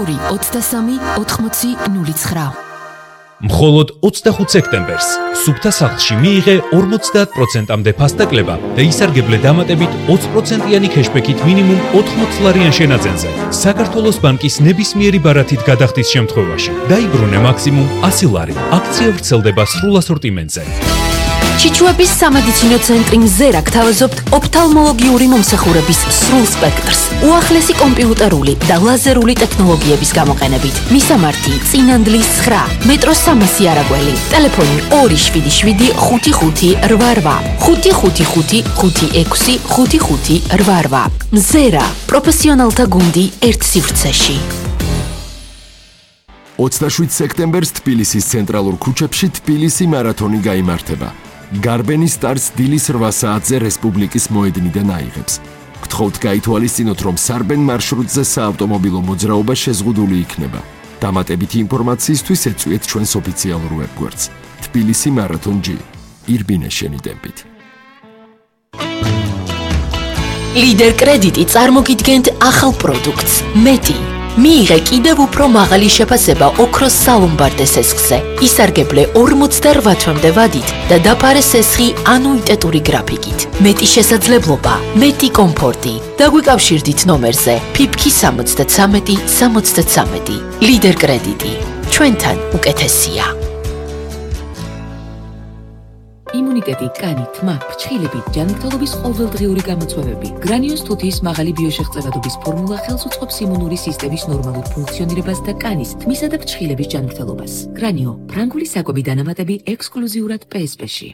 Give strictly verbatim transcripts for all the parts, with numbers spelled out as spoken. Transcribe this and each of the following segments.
ორი ოცდასამი ოთხმოცი ნული ცხრა. მხოლოდ ოცდახუთ სექტემბერს სუფთა სახლში მიიღე ორმოცდაათ პროცენტამდე ფასდაკლება და ისარგებლე დამატებით ოცი პროცენტიანი ქეშბექით მინიმუმ ოთხმოც ლარიან შენაძენზე. საქართველოს ბანკის ნებისმიერი ბარათით გადახდის შემთხვევაში დაიბრუნე მაქსიმუმ ასი ლარი. აქცია ვრცელდება სრულ ასორტიმენტზე. ჩიჩუების სამედიცინო ცენტრი მზერა გთავაზობთ ოფთალმოლოგიური მომსახურების სრულ სპექტრს, უახლესი კომპიუტერული და ლაზერული ტექნოლოგიების გამოყენებით. მისამართი წინანდლის ცხრა, მეტროს სამასი არაგველი, ტელეფონი ორი შვიდი შვიდი ხუთი ხუთი რვა რვა, ხუთი ხუთი ხუთი ხუთი ექვსი ხუთი ხუთი რვა რვა. მზერა, პროფესიონალთა გუნდი ერთ სივრცეში. ოცდაშვიდ სექტემბერს თბილისის ცენტრალურ ქუჩებში თბილისი მარათონი გაიმართება. გარბენი სტარტს დილის რვა საათზე რესპუბლიკის მოედნიდან აიღებს. გთხოვთ გაითვალისწინოთ, რომ სარბენ მარშრუტზე საავტომობილო მოძრაობა შეზღუდული იქნება. დამატებითი ინფორმაციისთვის ეწვიეთ ჩვენს ოფიციალურ ვებგვერდს. თბილისი მარათონ ჯი. ირბინე შენი ტემპით. ლიდერ კრედიტი წარმოგიდგენთ ახალ პროდუქტს. მეტი. მიიღე კიდევ უფრო მაღალი შეფასება ოქროს სალომბარდე სესხზე. ისარგებლე ორმოცდარვა თვემდე ვადით და დაფარე სესხი ანუიტეტური გრაფიკით. მეტი შესაძლებლობა, მეტი კომფორტი. დაგვიკავშირდით ნომერზე ფიფქი სამოცდათსამეტი სამოცდათსამეტი. ლიდერ კრედიტი. ჩვენთან უკეთესია. იმუნიტეტი, კანი, თმა, ფრჩხილები, ჯანმრთელობის ყოველდღიური გამოწვევები. გრანიოს თუთიის მაღალი ბიოშეღწევადობის ფორმულა ხელს უწყობს იმუნური სისტემის ნორმალურ ფუნქციონირებას და კანის, თმისა და ფრჩხილების ჯანმრთელობას. გრანიო, ფრანგული საკვები დანამატები ექსკლუზიურად პე ეს პე-ში.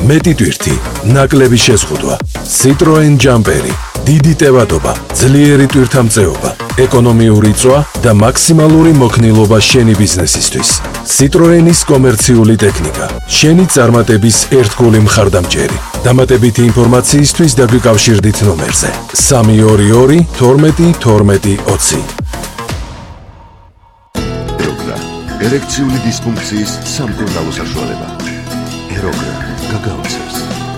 მეტი ტვირთი, ნაკლები შეზღუდვა, Citroen ჯამპერი, დიდი ტევადობა, ძლიერი ტვირთამწეობა, ეკონომიური წვა და მაქსიმალური მოქნილობა შენი ბიზნესისთვის. Citroenis კომერციული ტექნიკა, შენი წარმატების ერთგული მხარდამჭერი. დამატებითი ინფორმაციისთვის დაგვიკავშირდით ნომერზე სამი ორი ორი თორმეტი თორმეტი ოცი. ეროგრა, ერექციული დისფუნქციის სამკურნალო საშუალება. ეროგრა, გაგაოცებს.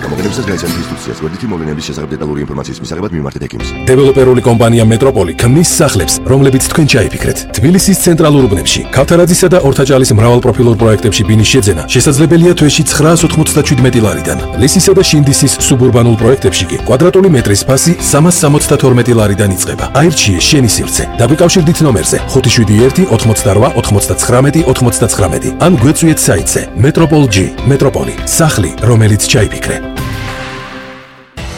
გამოგონებისას გაიცანთ ინსტრუქციას, გვერდითი მოვლენების შესახებ დეტალური ინფორმაციის მისაღებად მიმართეთ ექიმს. დეველოპერული კომპანია მეტროპოლი ქმნის სახლებს, რომლებიც თქვენ ჩაიფიქრეთ. თბილისის ცენტრალურ უბნებში, ქავთარაძისა და ორთაჭალის მრავალპროფილურ პროექტებში ბინის შეძენა შესაძლებელია თვეში ცხრაას ოთხმოცდაშვიდმეტი ლარიდან. ლისისა და შინდისის სუბურბანულ პროექტებში კი კვადრატული მეტრის ფასი სამას სამოცდათორმეტი ლარიდან იწყება. აირჩიე შენი სივრცე. დაგვიკავშირდით ნომერზე ხუთი შვიდი ერთი ოთხმოცდარვა ოთხმოცდაცხრამეტი ოთხმოცდაცხრამეტი ან გვეწვიეთ საიტზე მეტროპოლ ჯი. მეტროპოლი, სახლი, რომელიც ჩაიფიქრე.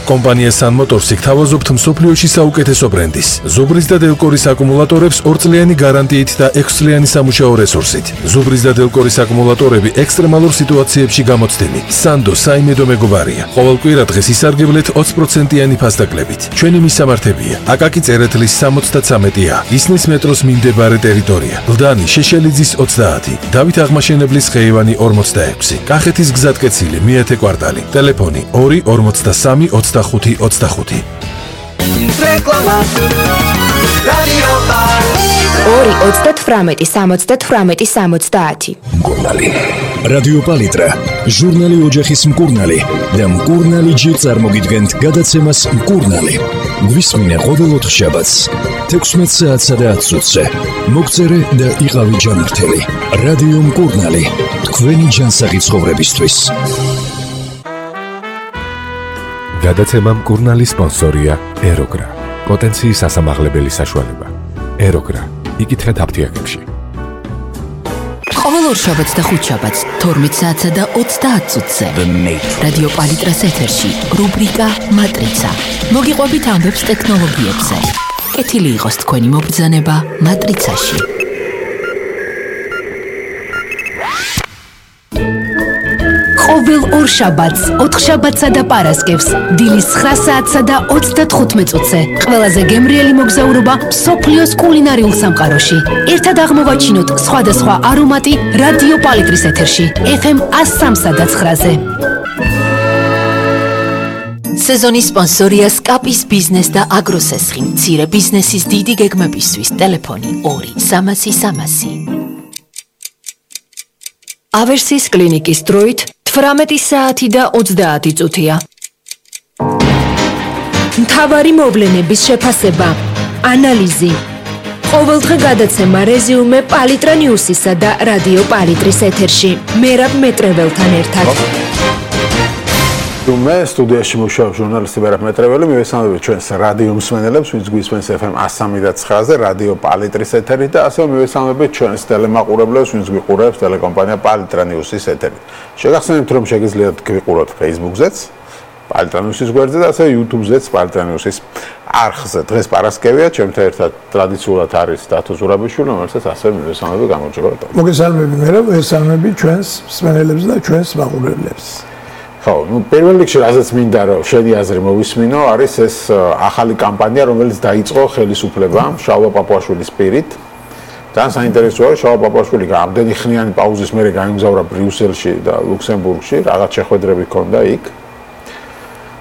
კომპანია Sun Motors-ი გთავაზობთ მსოფლიოში საუკეთესო ბრენდის, ზუბრის და დელკორის აკუმულატორებს ორწლიანი გარანტიით და ექვსწლიანი სამუშაო რესურსით. ზუბრის და დელკორის აკუმულატორები ექსტრემალურ სიტუაციებში გამოცდილი. Sando საიმედო მეგობარია. ყოველ კვირა დღეს ისარგებლეთ ოცი პროცენტიანი ფასდაკლებით. ჩვენი მისამართებია: აკაკი წერეთლის სამოცდათსამეტი ა, ისნის მეტროს მიმდებარე ტერიტორია, ლდანი შეშელიძის ოცდაათი, დავით აღმაშენებლის ხეივანი ორმოცდაექვსი, კახეთის გზატკეცილი მეათე კვარტალი, ტელეფონი ორი ორმოცდასამი ოცდახუთი ოცდახუთი. რეკლამა რადიო ორი ოცდათვრამეტი სამოცდათვრამეტი სამოცდაათი. მკურნალი რადიო პალიტრა, ჟურნალი ოჯახის მკურნალი და მკურნალი ჯი წარმოგიდგენთ გადაცემას მკურნალი. გვისმინე ყოველ ოთხშაბათს თექვსმეტ საათსა და ათს წუთზე. მოგწერე და იყავი ჯანმრთელი. რადიო მკურნალი, თქვენი ჯანსაღი ცხოვრებისთვის. გადაცემა მკურნალი სპონსორია ეროგრა. პოტენციის ასამაღლებელი საშუალება. ეროგრა. იკითხეთ აფთიაქებში. ყოველ ორშაბათს და ხუთშაბათს თორმეტ საათსა და ოცდაათ წუთზე. რადიო პალიტრას ეთერში რუბრიკა მატრიცა. მოგიყვებით ამბებს ტექნოლოგიებზე. კეთილი იყოს თქვენი მობრძანება მატრიცაში. ყოველ ორშაბათს, ოთხშაბათსა და პარასკევს, დილის ცხრა საათსა და ოცდათხუთმეტ წუთზე. ყველაზე გემრიელი მოგზაურობა მსოფლიოს კულინარიულ სამყაროში. ერთად აღმოვაჩინოთ სხვადასხვა არომატი რადიო პალიტრის ეთერში, ეფ ემ ასსამსა და ცხრაზე. სეზონის სპონსორია სკაპის ბიზნეს და აგროსესხი. მცირე ბიზნესის დიდი გეგმებისთვის ტელეფონი ორი სამასი სამასი. ავერსის კლინიკის დროით თვრამეტი საათი და ოცდაათი წუთია. მთავარი მოვლენების შეფასება, ანალიზი, ყოველდღე გადაცემა რეზიუმე პალიტრა ნიუსისა და რადიო პალიტრის ეთერში. მერაბ მეტრეველთან ერთად. მე სტუდიაში მუშაობ ჟურნალისტი მერაბ მეტრეველი, მივესალმებით ჩვენს რადიო მსმენელებს, ვინც გვისმენს ეფ ემ one oh three ზე რადიო პალიტრის ეთერით და ასევე მივესალმებით ჩვენს ტელემაყურებლებს, ვინც გვიყურებს ტელეკომპანია პალიტრა ნიუსის ეთერით. შეგახსენებთ, რომ შეგიძლიათ გვიყუროთ Facebook-ზეც, პალიტრა ნიუსის გვერდზე და ასევე YouTube-ზეც პალიტრა ნიუსის არხზე. დღეს პარასკევია, ჩემთან ერთად ტრადიციულად არის დათო ზურაბიშვილი, რომელსაც ასევე მივესალმები გამარჯობა. მოგესალმები მერაბ, მოგესალმები ჩვენს მსმენელებს და ჩვენს მაყურებლებს. ხო, ну, პირველ რიგში რაზეც მინდა რომ შენი აზრი მოვისმინო, არის ეს ახალი კამპანია, რომელიც დაიწყო ხელისუფლებამ შალვა პაპუაშვილის პირით. ძალიან საინტერესოა, შალვა პაპუაშვილი ამდენი ხნიანი პაუზის მერე გაემგზავრა ბრიუსელში და ლუქსემბურგში, რაღაც შეხვედრები ჰქონდა იქ.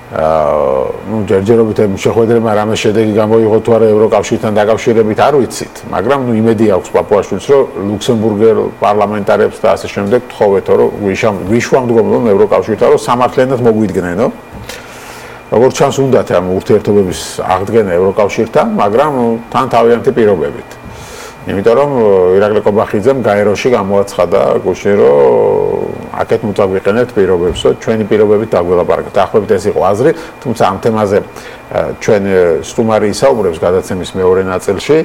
აა, ну, ჯერჯერობით ამ შეხვედრებმა რამე შედეგი გამოიღო თუ არა ევროკავშირთან დაკავშირებით არ ვიცით, მაგრამ ну იმედი აქვს პაპუაშვილს, რომ ლუქსემბურგელ პარლამენტარებს და ასე შემდეგ თხოვეთო, რომ ვიშვამდგომლონ ევროკავშირთან, რომ სამართლიანად მოგვიდგნენო. როგორც ჩანს, უნდათ ამ ურთიერთობების აღდგენა ევროკავშირთან, მაგრამ თან თავიანთი პირობებით. იმიტომ რომ ირაკლი კობახიძემ გაეროში გამოაცხადა გუშინ, რომ აქეთ მოწაგვიყენებთ პირობებსო, ჩვენი პირობებით დაგველაპარაკეთ. დაახლოებით ეს იყო აზრი, თუმცა ამ თემაზე ჩვენ სტუმარი ისაუბრებს გადაცემის მეორე ნაწილში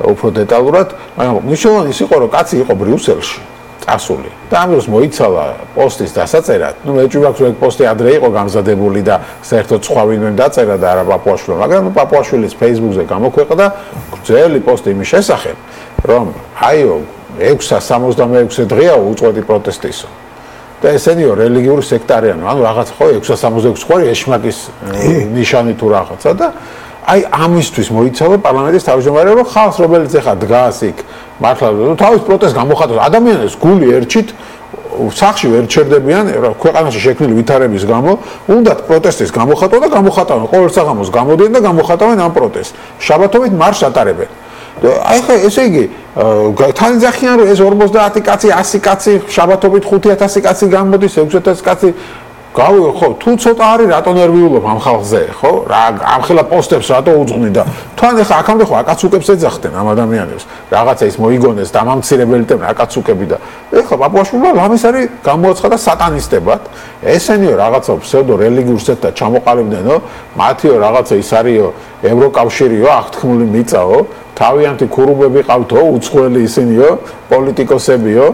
უფრო დეტალურად, მაგრამ მნიშვნელოვანი ის იყო, რომ კაცი იყო ბრიუსელში წასული და ამ დროს მოიცალა პოსტის დასაწერად. ნუ მე ვაქვს, რომ პოსტი ადრე იყო გამზადებული და საერთოდ სხვა ვინმე დაწერა და არა პაპუაშვილმა, მაგრამ პაპუაშვილის Facebook-ზე გამოქვეყნდა გრძელი პოსტი იმის შესახებ, რომ აიო ექვსი სამოცდამეექვსე დღეა უწყვეტი პროტესტისო. და ესენიო რელიგიური სექტარიანი, ანუ რაღაც ხო ექვსი სამოცდაექვსი ხوارი ეშმაკის ნიშანი თუ რაღაცა და აი ამისთვის მოიცალა პარლამენტის თავმჯდომარე, რომ ხალხს რომელიც ეხა დგას იქ მართლა თავის პროტესტს გამოხატავს, ადამიანებს გული ერჩით სახში ვერ ჩერდებიან ქვეყანაში შექმნილი ვითარების გამო, უნდათ პროტესტის გამოხატვა და გამოხატავენ ყოველ საღამოს გამოდიან და გამოხატავენ ამ პროტესტს. შაბათობით მარშს ატარებენ. აი ხა ესე იგი თანიძახიან რომ ეს ორმოცდაათი კაცი, ასი კაცი, შაბათობით ხუთი ათასი კაცი გამოდის, ექვსი ათასი კაცი გავიგე ხო, თუ ცოტა არის რატო ნერვიულობ ამ ხალხზე, ხო? რა ამ ხელა პოსტებს რატო უძღვნი და თან ეხა აქამდე ხო აკაცუკებს ეძახდნენ ამ ადამიანებს. რაღაცა ის მოიგონეს და ამამცირებელი ტემ აკაცუკები და ეხა პაპუაშვილმა ლამის არის გამოაცხადა სატანისტებად. ესენიო რაღაცა ფსევდო რელიგიურ სექტად ჩამოყალიბდნენო, მათიო რაღაცა ის არისო ევროკავშირიო, აღთქმული მიწაო, თავიანთი ქურუმები ყავთო, უცხოელი ისინიო, პოლიტიკოსებიო.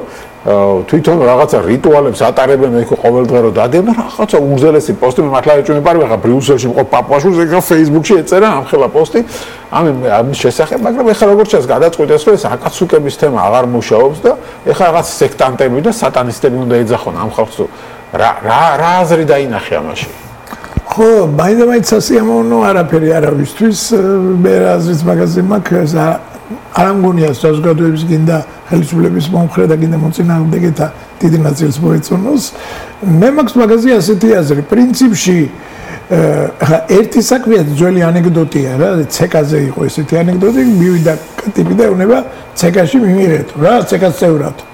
თვითონ რაღაცა რიტუალებს ატარებენ ეხო ყოველდღე რომ დადიან და რაღაცა უგზელესი პოსტი მე მართლა ეჭვმებარი ხა ბრიუსელში მყოფ პაპუაშვილს ეხა Facebook-ში ეწერა ამ ხელა პოსტი ამ ამის შესახებ, მაგრამ ეხა როგორც ჩანს გადაწყვიტეს რომ ეს აკაცუკების თემა აღარ მუშაობს და ეხა რაღაც სექტანტები და სატანისტები უნდა ეძახონ ამ ხალხს რა რა რა აზრი დაინახე ამაში. ხო, მაინც სასიამოვნო არაფერი არავისთვის მე აზრით მაგაზე მაქვს არ ამგონია საზოგადოების გინდა ხელისუფლების მომხრე და გინდა მოწინააღმდეგეთა დიდი ნაწილს მოეწონოს. მე მაქვს მაგაზე ასეთი აზრი, პრინციპში ხა ერთი საქმეა ძველი ანეკდოტია რა, ცეკაზე იყო ესეთი ანეკდოტი, მივიდა ტიპი და ეუბნება ცეკაში მიმიღეთო რა, ცეკას წევრათო.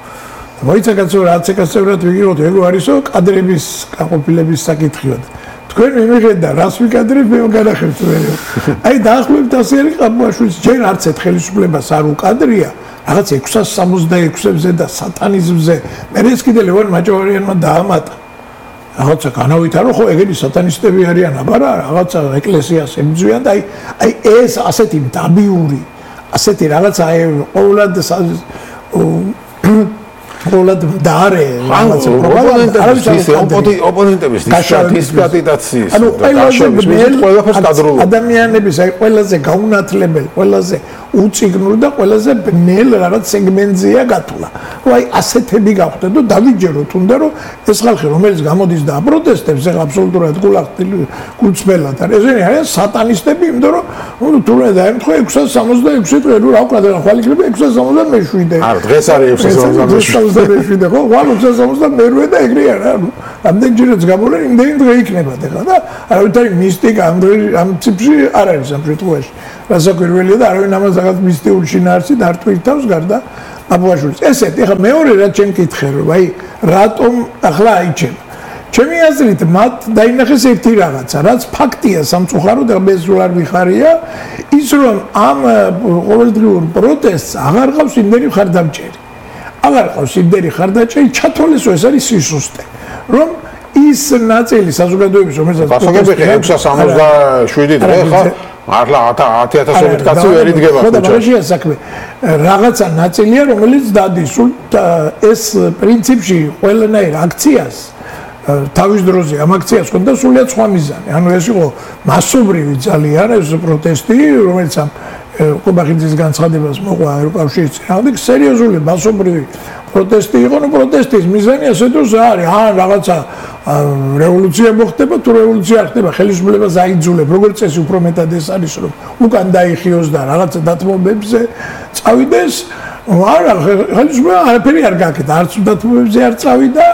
მოიცა კაცო რა ცეკას წევრად ვიგიღოთ, ეგო არისო კადრების გაყოფილების საკითხია. თქვენ მიმიღეთ და რას ვიკადრებ მე განახებთ მე. აი დაახლოებით ასე არის პაპუაშვილის ჯერ არც ერთ ხელისუფლებას არ უკადრია რაღაც ექვსი სამოცდაექვსზე და სატანიზმზე. მე ეს კიდე ლევან მაჭოვარიანმა დაამატა. რაღაცა განავითარო ხო ეგენი სატანისტები არიან, აბარა რაღაცა ეკლესიას ემძვიან და აი აი ეს ასეთი დაბიური, ასეთი რაღაცა აი ყოველად ყოველად დაარე რაღაცა ოპონენტების დისკრედიტაციის ანუ ყველაფერს გადროულად ადამიანების აი ყველაზე გაუნათლებელი, ყველაზე უწიგნური და ყველაზე ბნელ რაღაც სეგმენტზეა გათვლა. აი ასეთები გავხდეთ და დავიჯეროთ უნდა რომ ეს ხალხი რომელიც გამოდის და აპროტესტებს ეხლა აბსოლუტურად გულწრფელად არის. ესენი არიან სატანისტები, იმიტომ რომ ნუ თუნდაც დაემთხვა ექვსი სამოცდაექვსი დღე ნუ რა ვქნა და ხვალ იქნება ექვსი სამოცდამეშვიდე. არა დღეს არის ექვსი სამოცდამეშვიდე ხო? ხვალ ექვსი სამოცდამერვე და ეგრე არა. ნუ ამდენჯერაც გამოვიდა იმდენი დღე იქნება ეხლა და არავითარი მისტიკა ამ დღე ამ ციფრში არ არის ამ შემთხვევაში. რასაკვირველია და არავინ ამას რაღაც მისტიური შინაარსი დარტვირთავს გარდა პაპუაშვილის. ესეთ ეხლა მეორე რაც ჩემ კითხე რომ აი რატომ ახლა აიჩენა ჩემი აზრით მათ დაინახეს ერთი რაღაცა, რაც ფაქტია სამწუხაროდ, მე სულ არ ვიხარია, ის რომ ამ ყოველდღიურ პროტესტს აღარ ყავს იმდენი ხარდამჭერი. აღარ ყავს იმდენი ხარდამჭერი, ჩათვალეს ეს არის სისუსტე. რომ ის ნაწილი საზოგადოების რომელსაც გასაგები ექვსი სამოცდაშვიდი დღე ხა მართლა ათი ათასობით კაცი ვერ იდგება ხო და მაგაშია საქმე რაღაცა ნაწილია რომელიც დადის სულ ეს პრინციპში ყველანაირ აქციას თავის დროზე ამ აქციას ხონდა სულიად სხვა მიზანი ანუ ეს იყო მასობრივი ძალიან ეს პროტესტი რომელიც ამ ყუბახიძის განცხადებას მოყვა ევროკავშირის წინააღმდეგ სერიოზული მასობრივი პროტესტი იყო, ну პროტესტის მიზანი ასე თუ არის, ან რაღაცა რევოლუცია მოხდება, თუ რევოლუცია ხდება, ხელისუფლებას აიძულებ, როგორც წესი უფრო მეტად ეს არის, რომ უკან დაიხიოს და რაღაცა დათმობებზე წავიდეს, არა, ხელისუფლება არაფერი არ გაკეთა, არც დათმობებზე არ წავიდა,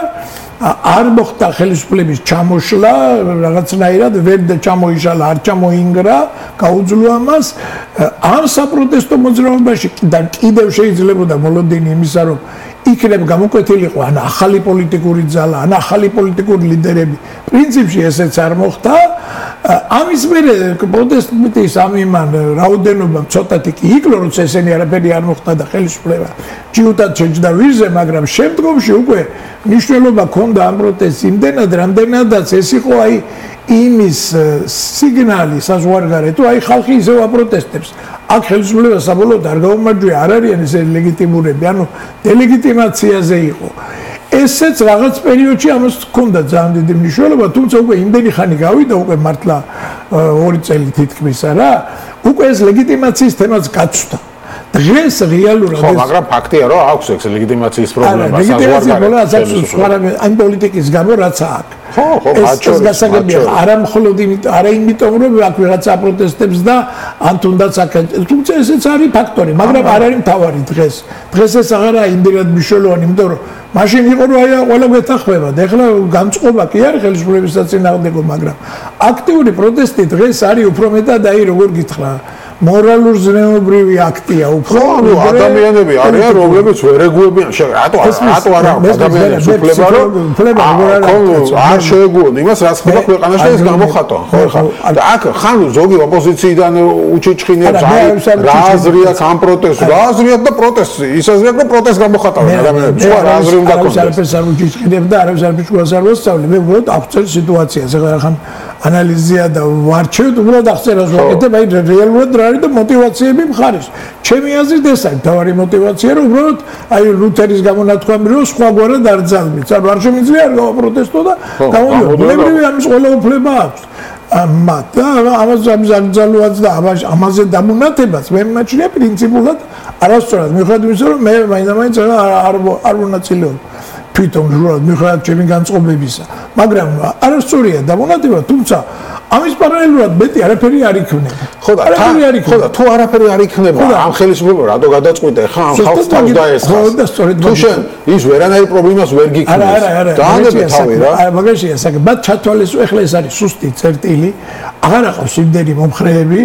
არ მოხდა ხელისუფლების ჩამოშლა, რაღაცნაირად ვერ ჩამოიშალა, არ ჩამოინგრა, გაუძლო ამას, ამ საპროტესტო მოძრაობაში კიდევ შეიძლებოდა მოლოდინი იმისა, რომ იქნებ გამოკვეთილიყო ან ახალი პოლიტიკური ძალა, ან ახალი პოლიტიკური ლიდერები. პრინციპში ესეც არ მოხდა. ამის მერე პროტესტის ამ იმან რაოდენობა ცოტათი კი იკლო, როცა ესენი არაფერი არ მოხდა და ხელისუფლება ჯიუტად შეჯდა ვირზე, მაგრამ შემდგომში უკვე მნიშვნელობა ჰქონდა ამ პროტესტს იმდენად, რამდენადაც ეს იყო აი იმის სიგნალი საზღვარგარეთ, თუ აი ხალხი ისევ აპროტესტებს. აქ ხელისუფლება საბოლოოდ არ გაუმარჯვია, არ არიან ესენი ლეგიტიმურები, ანუ დელეგიტიმაციაზე იყო. ესეც რაღაც პერიოდში ამას ჰქონდა ძალიან დიდი მნიშვნელობა, თუმცა უკვე იმდენი ხანი გავიდა, უკვე მართლა ორი წელი თითქმის არა, უკვე ეს ლეგიტიმაციის თემაც გაცვდა. დღეს რეალურად ხო, მაგრამ ფაქტია, რომ აქვს ეს ლეგიტიმაციის პრობლემა საზღვარგარეთ. ამ პოლიტიკის გამო რაც აქვს. ხო, ხო, ეს გასაგებია, არა მხოლოდ იმიტომ, არა იმიტომ, რომ აქ ვიღაცა აპროტესტებს და ან თუნდაც აქ, თუმცა ესეც არის ფაქტორი, მაგრამ არ არის მთავარი დღეს. დღეს ეს აღარაა იმდენად მნიშვნელოვანი, იმიტომ რომ მაშინ იყო რომ აი ყველა გვეთანხმება და ეხლა განწყობა კი არის ხელისუფლების საწინააღმდეგო, მაგრამ აქტიური პროტესტი დღეს არის უფრო მეტად აი როგორ გითხრა მორალურ ზნეობრივი აქტია უფრო ანუ ადამიანები არიან რომლებიც ვერ ეგუებიან რატო რატო არა ადამიანებს უფლება რომ არ შეეგუონ იმას რაც ხდება ქვეყანაში და ეს გამოხატვა ხო ხა და აქ ხან ზოგი ოპოზიციიდან უჩიჩხინებს აი რა აზრია ამ პროტესტს რა აზრია და პროტესტი ის აზრია რომ პროტესტ გამოხატავენ ადამიანებს სხვა რა აზრი უნდა ქონდეს არაფერს არ უჩიჩხინებ და არაფერს არ ფიჩქოს არ მოსწავლე მე უბრალოდ აღწერ სიტუაციას ეხლა ხან ანალიზია და ვარჩევთ უბრალოდ აღწერას ვაკეთებ აი რეალურად არის და мотиваციები მხარეს. ჩემი აზრით ეს არის თავარი мотиваცია, რომ უბრალოდ აი ლუთერის გამონათქვამი რომ სხვაგვარად არ ძალმით. ანუ არ შემიძლია არ გავაპროტესტო და გამოდიო. ბუნებრივი ამის ყველა უფლება აქვს. მათ და ამას ამზალუაც და ამაზე დამონათებას მე მაჩნია პრინციპულად არასწორად. მიუხედავად იმისა, რომ მე მაინც-მაინც არ არ მონაწილეობ. თვითონ ჟურად მიუხედავად ჩემი განწყობებისა. მაგრამ არასწორია დამონათება, თუმცა ამის პარალელურად მეტი არაფერი არ იქნება. ხო და არაფერი არ იქნება. ხო და თუ არაფერი არ იქნება, ამ ხელისუფლება რატო გადაწყვიტე ხა ამ ხალხს თავს დაესხა. ხო და სწორედ თუ შენ ის ვერანაირ პრობლემას ვერ გიქმნის. არა, არა, არა. დაანებე თავი რა. არა, მაგაშია საქმე. მათ ჩათვალეს, ეხლა ეს არის სუსტი წერტილი. აღარ აყავს იმდენი მომხრეები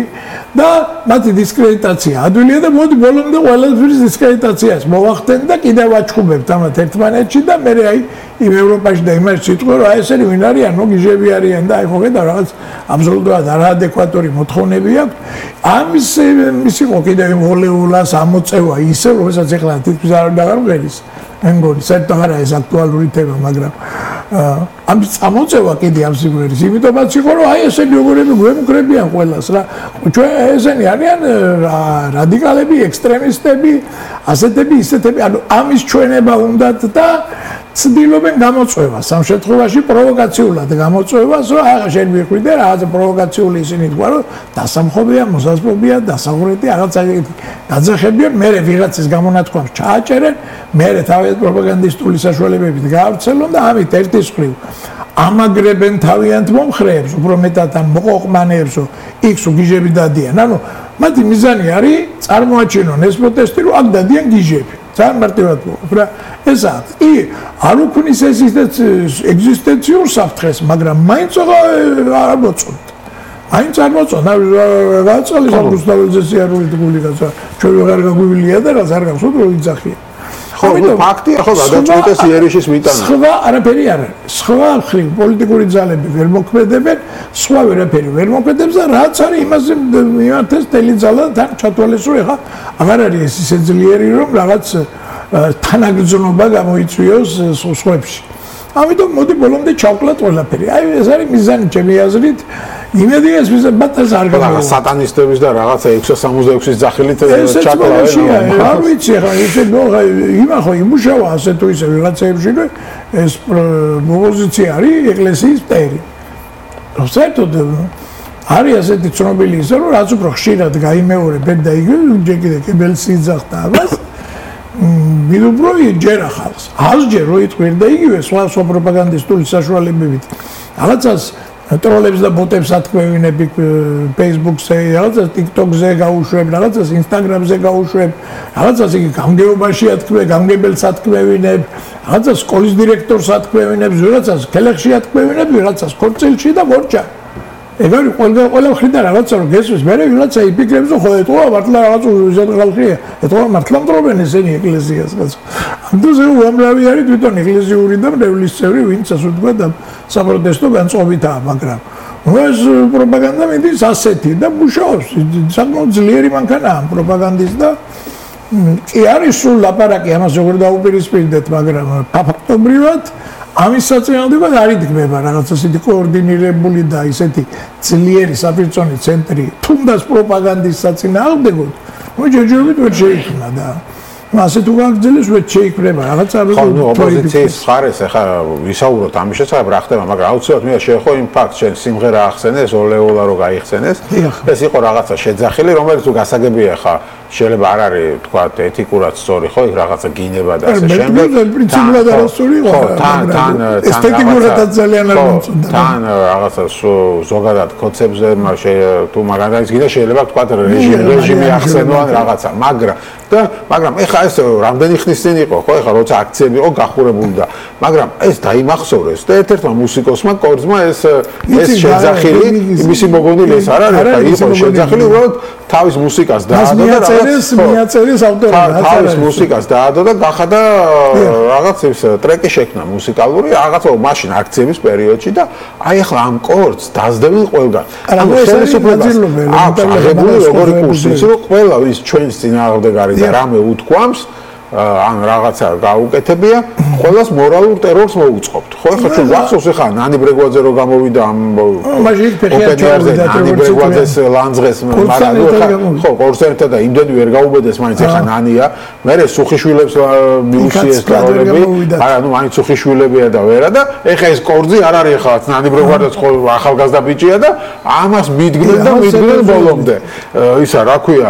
და მათი დისკრედიტაცია ადვილია და მოდი ბოლომდე ყველაფრის დისკრედიტაციას მოვახდენ და კიდევ ვაჩხუბებთ ამათ ერთმანეთში და მე აი იმ ევროპაში და იმაში სიტყვა რომ აი ესენი ვინ არიან, ნუ გიჟები არიან და აი ხო ხედავ რაღაც აბსოლუტურად არაადეკვატური მოთხოვნები აქვს. ამის ის იყო კიდევ იმ ოლეულას ამოწევა ისე, რომელსაც ეხლა თითქმის არ დაგარღელის. მე მგონი, საერთოდ არა ეს აქტუალური თემა, მაგრამ ამის წამოწევა კიდე ამ სიმღერის, იმიტომაც იყო რომ აი ესენი როგორები გვემუქრებიან ყველას რა. ჩვენ ესენი არიან რადიკალები, ექსტრემისტები, ასეთები, ისეთები, ანუ ამის ჩვენება უნდათ და ცდილობენ გამოწვევას, ამ შემთხვევაში პროვოკაციულად გამოწვევას, რომ აი შენ მიხვიდე რაღაცა პროვოკაციული ისინი თქვა, რომ დასამხობია, მოსაზრებია, დასაღვრეთი, რაღაცა გაძახებიან, მე ვიღაცის გამონათქვამს ჩააჭერენ, მე თავის პროპაგანდისტული საშუალებებით გაავრცელონ და ამით ერთის მხრივ ამაგრებენ თავიანთ მომხრეებს, უფრო მეტად ამ მოყოყმანეებს, რომ იქს გიჟები დადიან. ანუ მათი მიზანი არის წარმოაჩინონ ეს პროტესტი, რომ აქ დადიან გიჟები. ძალიან მარტივად მოხდა რა ეს არის კი არ უქმნის ეს ეგზისტენციურ საფრთხეს მაგრამ მაინც არ მოწონთ მაინც არ მოწონთ გააწყალეს ამ რუსთაველზე სიარული გული გაცა ჩვენ ვეღარ გაგვივლია და რაც არ გახსოვთ რომ იძახია ხო, ფაქტია, ხო, გადაწყვეტეს იერიშის მიტანა. სხვა არაფერი არ არის. სხვა ხრი პოლიტიკური ძალები ვერ მოქმედებენ, სხვა ვერაფერი ვერ მოქმედებს და რაც არის იმაზე მიმართეს თელი ძალა თან ჩათვალეს რომ ეხა აღარ არის ეს ისე ძლიერი რომ რაღაც თანაგრძნობა გამოიწვიოს სხვებში. ამიტომ მოდი ბოლომდე ჩავკლათ ყველაფერი. აი ეს არის მიზანი ჩემი აზრით. იმედი ეს მიზანს არ გამოვა. სატანისტების და რაღაცა ექვსი სამოცდაექვსის ძახილით ჩაკლავენ. არ ვიცი ხა ისე ნოღა იმა ხო იმუშავა ასე თუ ისე ვიღაცეებში ეს პოზიცია არის ეკლესიის მტერი. საერთოდ არის ასეთი ცნობილი ისე რომ რაც უფრო ხშირად გაიმეორებენ და იგივე ჯერ კიდე კებელს იძახდა ამას მიდუბროი ჯერ ახალს. ასჯერ რო იტყვირ და იგივე სხვა სხვა პროპაგანდისტული საშუალებებით. რაღაცას ტროლებს და ბოტებს ათქმევინები Facebook-ზე, რაღაცას TikTok-ზე გაუშვებ, რაღაცას Instagram-ზე გაუშვებ, რაღაცას იგი გამგეობაში ათქმე, გამგებელს ათქმევინებ, რაღაცას სკოლის დირექტორს ათქმევინებ, რაღაცას ქელეხში ათქმევინებ, რაღაცას ქორწილში და მორჩა. ეგ არის ყველა ყველა მხრიდან რაღაცა რომ გესვეს, მე რაღაცა იფიქრებს რომ ხო ეტყობა მართლა რაღაც უზად ხალხია, ეტყობა მართლა მტრობენ ესენი ეკლესიას კაცო. ამდროზე უამრავი არის თვითონ ეკლესიური და მრევლის წევრი, ვინც ასე ვთქვა და საპროტესტო განწყობითაა, მაგრამ ეს პროპაგანდა მიდის ასეთი და მუშაობს, საკმაოდ ძლიერი მანქანაა პროპაგანდის და კი არის სულ ლაპარაკი ამას როგორ დაუპირისპირდეთ, მაგრამ ფაქტობრივად ამის საწინააღმდეგოდ არ იდგმება რაღაც ასეთი კოორდინირებული და ისეთი ძლიერი საფრთხონი ცენტრი თუნდაც პროპაგანდის საწინააღმდეგოდ ნუ ჯერჯერობით ვერ შეიქმნა და ასე თუ გაგრძელებს ვერ შეიქმნება რაღაც არ ხო ნუ ოპოზიციის მხარეს ახლა ვისაუბროთ ამის შესახებ რა ხდება მაგრამ აუცილებლად მე შეხო იმ ფაქტს შენ სიმღერა ახსენეს ოლეოლა რო გაიხსენეს ეს იყო რაღაცა შეძახილი რომელიც თუ გასაგებია ხა შეიძლება არ არის თქვა ეთიკურად სწორი ხო იქ რაღაცა გინება და ასე შემდეგ პრინციპულად არასწორი იყო თან თან ესთეტიკურადაც ძალიან არ მომწონდა თან რაღაცა ზოგადად კონცეფტზე თუ მაგალითად გინდა შეიძლება თქვა რეჟიმი რეჟიმი ახსენო ან რაღაცა მაგრამ და მაგრამ ეხა ეს რამდენი ხნის წინ იყო ხო ეხა როცა აქციები იყო გახურებული და მაგრამ ეს დაიმახსოვრეს და ერთ-ერთმა მუსიკოსმა კორძმა ეს ეს შეძახილი მისი მოგონილი ეს არ არის და იყო შეძახილი უბრალოდ თავის მუსიკას დაადო და რაღაც მიაწერეს ავტორი თავის მუსიკას დაადო და გახადა რაღაც ის ტრეკი შექმნა მუსიკალური რაღაცა მაშინ აქციების პერიოდში და აი ახლა ამ კორდს დაძდებენ ყველგან ანუ ხელისუფლებას აღებული როგორი კურსი ის რომ ყველა ვის ჩვენს წინააღმდეგ არის და რამე უთქვამს ან რაღაცა გაუკეთებია ყველას მორალურ ტერორს მოუწყობთ ხო ახლა ჩვენ ვახსოვს ახლა ნანი ბრეგვაძე რო გამოვიდა ამ მაჟიკ ფეხიაჩოვდა ნანი ბრეგვაძეს ლანძღეს მაგრამ ხო კორსერტა და იმდენი ვერ გაუბედეს მაინც ახლა ნანია მე სუხიშვილებს მიუსიეს ტროლები არა ნუ მაინც სუხიშვილებია და ვერა და ახლა ეს კორძი არ არის ახლა ნანი ბრეგვაძეც ხო ახალგაზრდა ბიჭია და ამას მიდგნენ და მიდგნენ ბოლომდე ისა რა ქვია